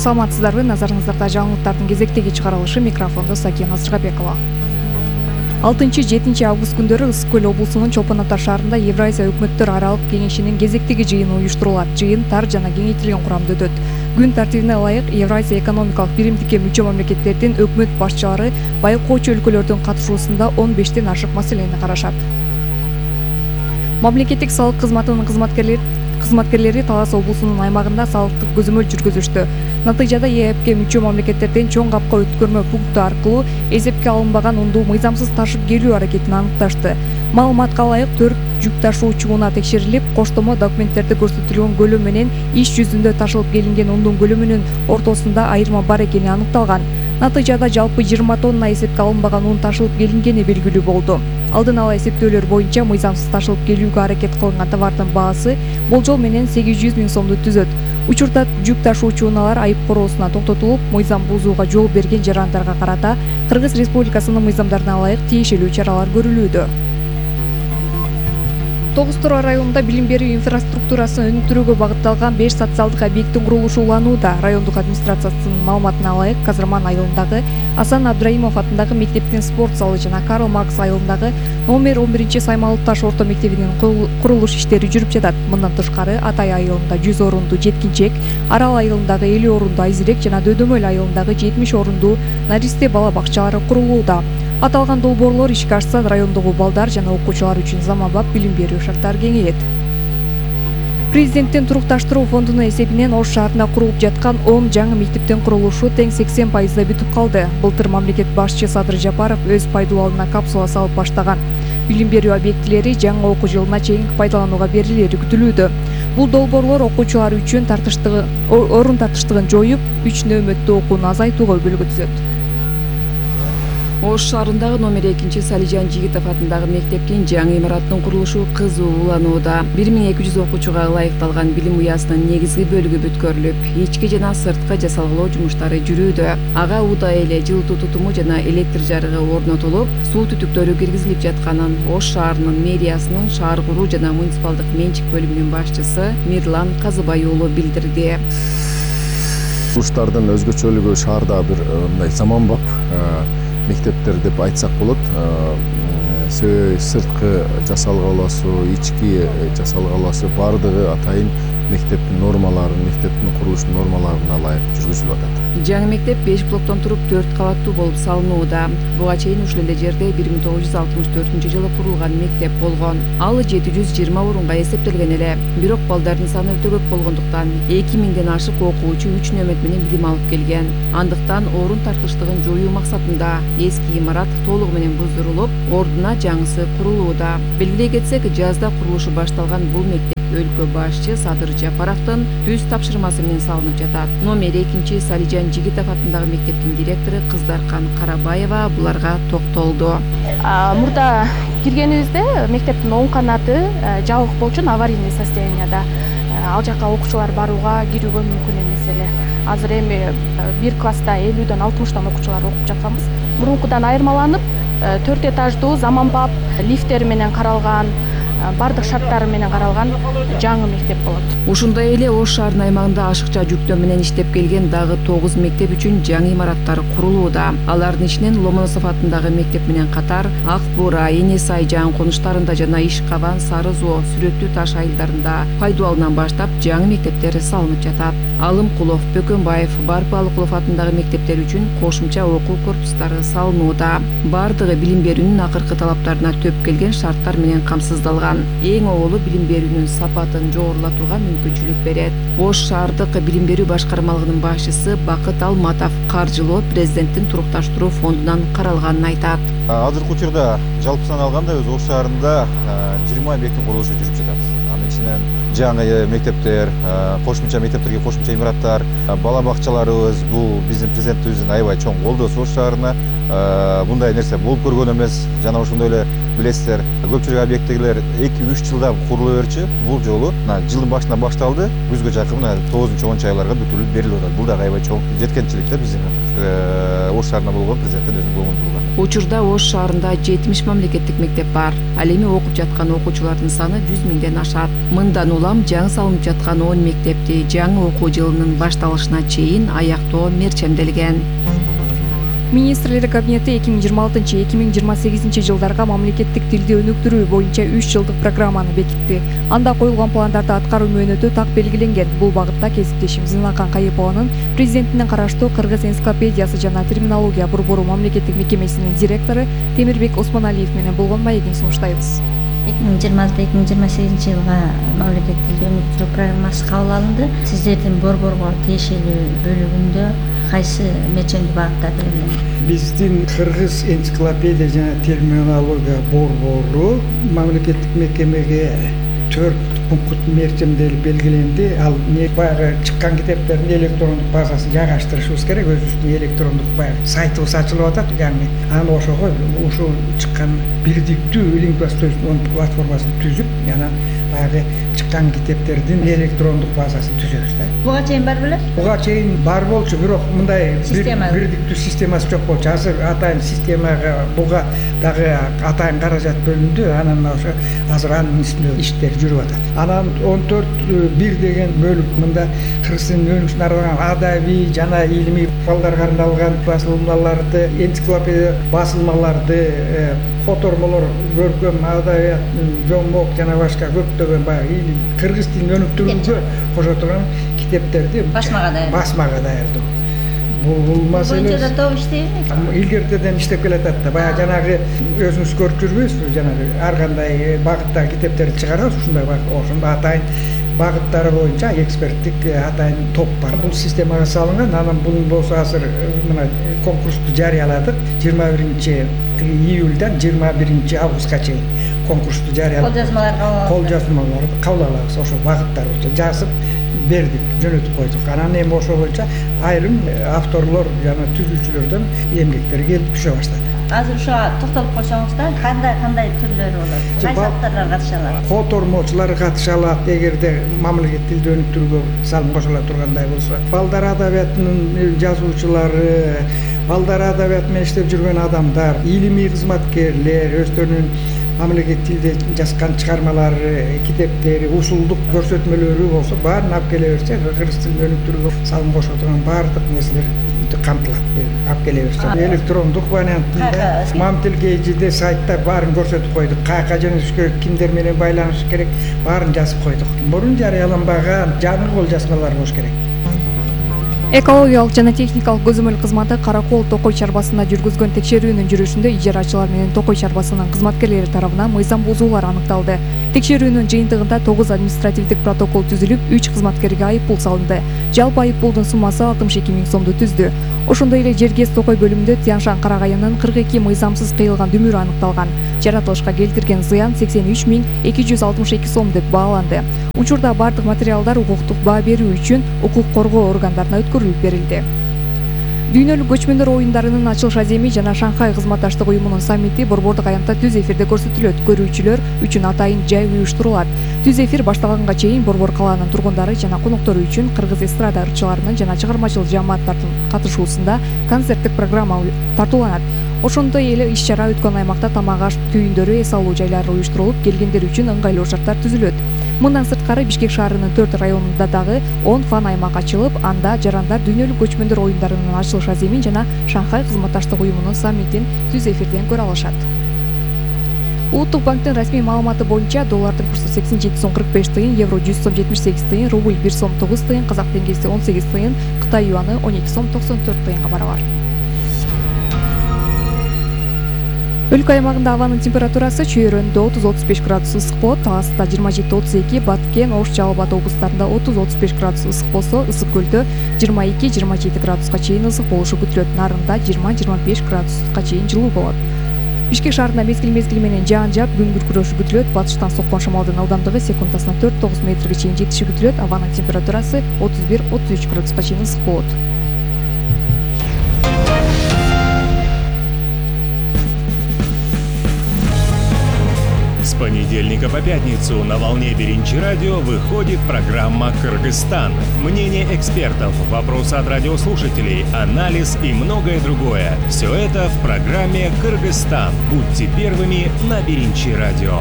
Саламатсыздарбы, назарыңыздарда жаңылыктардын кезектеги чыгарылышы, микрофондо Сакина Сыргабекова. 6-7 август күндөрү Ысык көл облусунун Чолпон Ата шаарында Евразия өкмөттөр аралык кеңешинин кезектеги жыйыны уюштурулат. Жыйын тар жана кеңейтилген курамда өтөт. Күн тартибине ылайык Евразия экономикалык биримдикке мүчө мамлекеттердин өкмөт башчылары байкоочу өлкөлөрдүн катышуусунда 15тен ашык маселени карашат. Мамлекеттик салык кызматынын кызматкерлери Талас облусунун аймагында салыктык көзөмөл жүргүзүштү. Натыйжада ЕЭПке мүчө мамлекеттерден чоң капка өткөрмө пункту аркылуу эсепке алынбаган унду мыйзамсыз ташып келүү аракетин аныкташты. Маалыматка ылайык 4 жүк ташуучу унаа текшерилип, коштомо документтерде көрсөтүлгөн көлөм менен иш жүзүндө ташылып келинген ундун көлөмүнүн ортосунда айырма бар экени аныкталган. Натыйжада жалпы 20 тонна эсепке алынбаган ун ташылып келингени белгилүү болду. Алдын ала эсептөөлөр боюнча мыйзамсыз ташылып келүүгө аракет кылынган товардын баасы болжол менен 800 000 сомду түзөт. Учурда жүк ташуучу унаалар айып короосуна токтотулуп, мыйзам бузууга жол берген жарандарга карата Кыргыз Республикасынын мыйзамдарына ылайык тиешелүү чаралар көрүлүүдө. Тогуз Тороо районунда билим берүү инфраструктурасын өнүктүрүүгө багытталган 5 социалдык объекттин курулушу уланууда. Райондук администрациясынын маалыматына ылайык, Казырман айылындагы Асан Абдраимов атындагы мектептин спорт залы жана Карл Маркс айылындагы номер 11 Саймалы Таш орто мектебинин курулуш иштери жүрүп жатат. Мындан тышкары Атай айылында 100 орунду жеткинчек, Арал айылындагы 50 орунду айзирек жана Дөдөмөл айылындагы 70 орунду наристе бала бакчалары курулууда. Аталган долбоорлор ишке ашса, райондогу балдар жана окуучулар үчүн заманбап билим берүү шарттары кеңейет. Президенттин турукташтыруу фондунун эсебинен Ош шаарында курулуп жаткан 10 жаңы мектептин курулушу тең 80% бүтүп калды. Былтыр мамлекет башчы Садыр Жапаров өз пайдаланууна капсула салып баштаган. Билим берүү объектилери жаңы окуу жылына чейин пайдаланууга берилери күтүлүүдө. Бул долбоорлор окуучулар үчүн орун тартыштыгын жоюп, 3 нөөмөттүү окууну азайтууга өбөлгө түзөт. Ош шаарындагы номер 2 Салижан Жигитов атындагы мектептин жаңы имаратынын курулушу кызуу уланууда. 1200 окуучуга ылайыкталган билим уясынын негизги бөлүгү бүткөрүлүп, ички жана сырткы жасалгылоо жумуштары жүрүүдө. Ага удай эле жылытуу тутуму жана электр жарыгы орнотулуп, суу түтүктөрү киргизилип жатканын Ош шаарынын мэриясынын шаар куруу жана муниципалдык менчик бөлүмүнүн башчысы Мирлан Казыбай уулу билдирди. Курулуштардын өзгөчөлүгү шаарда бир мындай заманбап мектептер деп айтсак болот. Сырткы жасалгалоосу, ички жасалгалоосу баардыгы атайын мектептин нормаларын, мектептин курулуш нормаларына ылайык жүргүзүлүп атат. Жаңы мектеп 5 блоктон туруп 4 кабаттуу болуп салынууда. Буга чейин ушул эле жерде 1964-жылы курулган мектеп болгон. Ал 720 орунга эсептелген эле. Бирок балдардын саны өтө көп болгондуктан 2000ден ашык окуучу 3 нөөмөт менен билим алып келген. Андыктан орун тартыштыгын жоюу максатында эски имарат толугу менен буздурулуп, ордуна жаңысы курулууда. Белгилей кетсек, жазда курулушу башталган бул мектеп өлкө башчы Садыр Жапаровдун түз тапшырмасы менен салынып жатат. Номер 2 Салижан Жигитов атындагы мектептин директору Кыздаркан Карабаева буларга токтолду. Мурда киргенибизде мектептин оң канаты жабык болчу, аварийный состоянияда. Ал жака окуучулар барууга, кирүүгө мүмкүн эмес эле. Азыр эми бир класста 50ден 60 окуучулар окуп жатканбыз. Мурункудан айырмаланып, 4 этаждуу заманбап лифттери менен каралган, бардык шарттары менен каралган жаңы мектеп болот. Ушундай эле Ош шаарынын аймагында ашыкча жүктөө менен иштеп келген дагы 9 мектеп үчүн жаңы имараттар курулууда. Алардын ичинен Ломоносов атындагы мектеп менен катар Ак Бура, Энесай жан конуштарында жана Ишкабан, Сары Зоо, Сүрөттүү Таш айылдарында пайдалануудан баштап жаңы мектептер салынып жатат. Алымкулов, Бөкөнбаев, Барпалыкулов атындагы мектептер үчүн кошумча окуу корпустары салынууда. Бардыгы билим берүүнүн акыркы талаптарына төп келген шарттар менен камсыздалган. Эң оолу билим берүүнүн сапатын жогорулатууга мүмкүнчүлүк берет. Ош шаардык билим берүү башкармалыгынын башчысы Бакыт Алматов каржылоо президенттин турукташтыруу фондунан каралганын айтат. Азыркы учурда жалпысынан алганда өз Ош шаарында 20 объекттин курулушу жүрүп жатат. Анын ичинен жаңы мектептер, кошумча мектептерге кошумча имараттар, бала бакчаларыбыз бул биздин президентибиздин аябай чоң колдоосу Ош шаарына. Мындай нерсе болуп көргөн эмес. Жана ошондой эле билесиздер, көпчүлүк объекттегилер 2-3 жылда курулуп берчү. Бул жолу жылдын башында башталды, күзгө жакын 9-10 айларга бүтүрүлүп берилип атат. Бул да аябай чоң жеткенчилик да биздин Ош шаарында болгон президенттин өзүнүн көңүл бурган. Учурда Ош шаарында 70 мамлекеттик мектеп бар. Ал эми окуп жаткан окуучулардын саны 100 миңден ашат. Мындан улам жаңы салынып жаткан 10 мектепти жаңы окуу жылынын башталышына чейин аяктоо мерчемделген. Министрлер кабинети 2026-2028 жылдарга мамлекеттик тилди өнүктүрүү боюнча 3 жылдык программаны бекитти. Анда коюлган пландарды аткаруу мөөнөтү так белгиленген. Бул багытта кесиптешим Зинакан Кайыпованын президенттин караштуу Кыргыз энциклопедиясы жана терминология борбору мамлекеттик мекемесинин директору Темирбек Осмоналиев менен болгон маегин сунуштайбыз. 2026-2028 жылга мамлекеттик тилди өнүктүрүү программасы кабыл алынды. Сиздердин борборго тиешелүү бөлүгүндө кайсы мерчемдүү багыттар белгиленген? Биздин Кыргыз энциклопедия жана терминология борбору мамлекеттик мекемеге 4 пункт мерчемделип белгиленди. Ал баягы чыккан китептердин электрондук базасын жайгаштырышыбыз керек. Өзүбүздүн электрондук баягы сайтыбыз ачылып атат. Яғни аны ошого ушул чыккан бирдиктүү лингвостоочдун платформасын түзүп, жана баягы чыккан китептердин электрондук базасын түзөбүз да. Буга чейин бар беле? Буга чейин бар болчу, бирок мындай бирдиктүү системасы жок болчу. Азыр атайын системага буга дагы атайын каражат бөлүндү. Анан ошо азыр анын үстүндө иштер жүрүп атат. Анан 14.1 деген бөлүк мында кыргыз тилинин өнүгүшүнө арналган адабий жана илимий балдарга арналган басылмаларды, энциклопедия басылмаларды, котормолор, көркөм адабият, жомок жана башка көптөгөн баягы кыргыз тилин өнүктүрүүгө кошо турган китептерди басмага даярдоо. Бул маселе боюнча да топ иштейбизби? Илгертеден иштеп келатат да. Баягы жанагы өзүңүз көрүп жүрбөйсүзбү? Жанагы ар кандай багыттагы китептерди чыгарабыз, ушундай ошондо атайын багыттары боюнча эксперттик атайын топ бар. Бул системага салынган. Анан бунун болсо азыр мына конкурсту жарыяладык. 21 июльдан 21 августка чейин конкурсту жарыяладык. Кол жазмаларды кабыл алабыз. Ошо багыттар боюнча жазып бердик, жөнөтүп койдук. Анан эми ошо боюнча айрым авторлор жана түзүүчүлөрдөн эмгектер келип түшө баштады. Азыр ушуга токтолуп койсоңуз да, кандай түрлөрү болот? Кайсы авторлор катыша алат? Котормочулар катыша алат, эгерде мамлекеттик тилди өнүктүрүүгө салым кошула тургандай болсо. Балдар адабиятынын жазуучулары, балдар адабият менен иштеп жүргөн адамдар, илимий кызматкерлер, өздөрүнүн мамлекеттик тилде жазган чыгармалары, китептери, усулдук көрсөтмөлөрү болсо, баарын алып келе берсе, кыргыз тилин өнүктүрүүгө салым кошо турган баардык нерселер камтылат. Алып келе берсе, электрондук вариантында Мамтилкейжиде сайтта баарын көрсөтүп койдук. Каяка жөнөтүш керек, кимдер менен байланыш керек, баарын жазып койдук. Мурун жарыяланбаган жаңы кол жазмалар болуш керек. Экологиялык жана техникалык көзөмөл кызматы Каракол Токой чарбасында жүргүзгөн текшерүүнүн жүрүшүндө ижарачылар менен Токой чарбасынын кызматкерлери тарабынан мыйзам бузуулар аныкталды. Текшерүүнүн жыйынтыгында 9 административдик протокол түзүлүп, 3 кызматкерге айыппул салынды. Жалпы айыппулдун суммасы 62 миң сомду түздү. Ошондой эле Жергез Токой бөлүмүндө Тяншан Карагайынын 42 мыйзамсыз кыйылган дүмүрү аныкталган. Жаратылышка келтирген зыян 83 миң 262 сом деп бааланды. Учурда бардык материалдар укуктук баа берүү үчүн укук коргоо органдарына өткөрүлүп берилди. Дүйнөлүк көчмөндөр оюндарынын ачылыш аземи жана Шанхай кызматташтык уюмунун саммити борбордук аянтта түз эфирде көрсөтүлөт. Көрүүчүлөр үчүн атайын жай уюштурулат. Түз эфир башталганга чейин борбор калаанын тургундары жана коноктору үчүн кыргыз эстрада ырчыларынын жана чыгармачыл жааматтардын катышуусунда концерттик программа тартууланат. Ошондой эле иш-чара өткөн аймакта тамак аш түйүндөрү, эс алуу жайлары уюштурулуп, келгендер үчүн ыңгайлуу шарттар түзүлөт. Мындан сырткары Бишкек шаарынын 4 районунда дагы 10 фан аймак ачылып, анда жарандар дүйнөлүк көчмөндөр оюндарынын ачылыш аземин жана Шанхай кызматташтык уюмунун саммитин түз эфирден көрө алышат. Улуттук банктын расмий маалыматы боюнча доллардын курсу 87 сом 45 тыйын, евро 100 сом 78 тыйын, рубль 1 сом 9 тыйын, казак теңгеси 18 тыйын, Кытай юаны 12 сом 94 тыйынга барабар. Өлкө аймагында абанын температурасы чүйөрөндө 30-35 градус ысык болот, Таласта 27-32, Баткен, Ош, Жалал Абад облустарында 30-35 градус ысык болсо, Ысык көлдө 22-27 градуска чейин ысык болушу күтүлөт. Нарында 20-25 градуска чейин жылуу болот. Бишкек шаарында мезгил менен жаан жаап, күн күркүрөшү күтүлөт. Батыштан соккон шамалдын ылдамдыгы секундасына 4-9 метрге чейин жетиши күтүлөт. Абанын температурасы 31-33 градуска чейин ысык болот. понедельника по пятницу на волне Биринчи радио выходит программа «Кыргызстан». Мнение экспертов, вопросы от радиослушателей, анализ и многое другое. Все это в программе «Кыргызстан». Будьте первыми на Биринчи радио.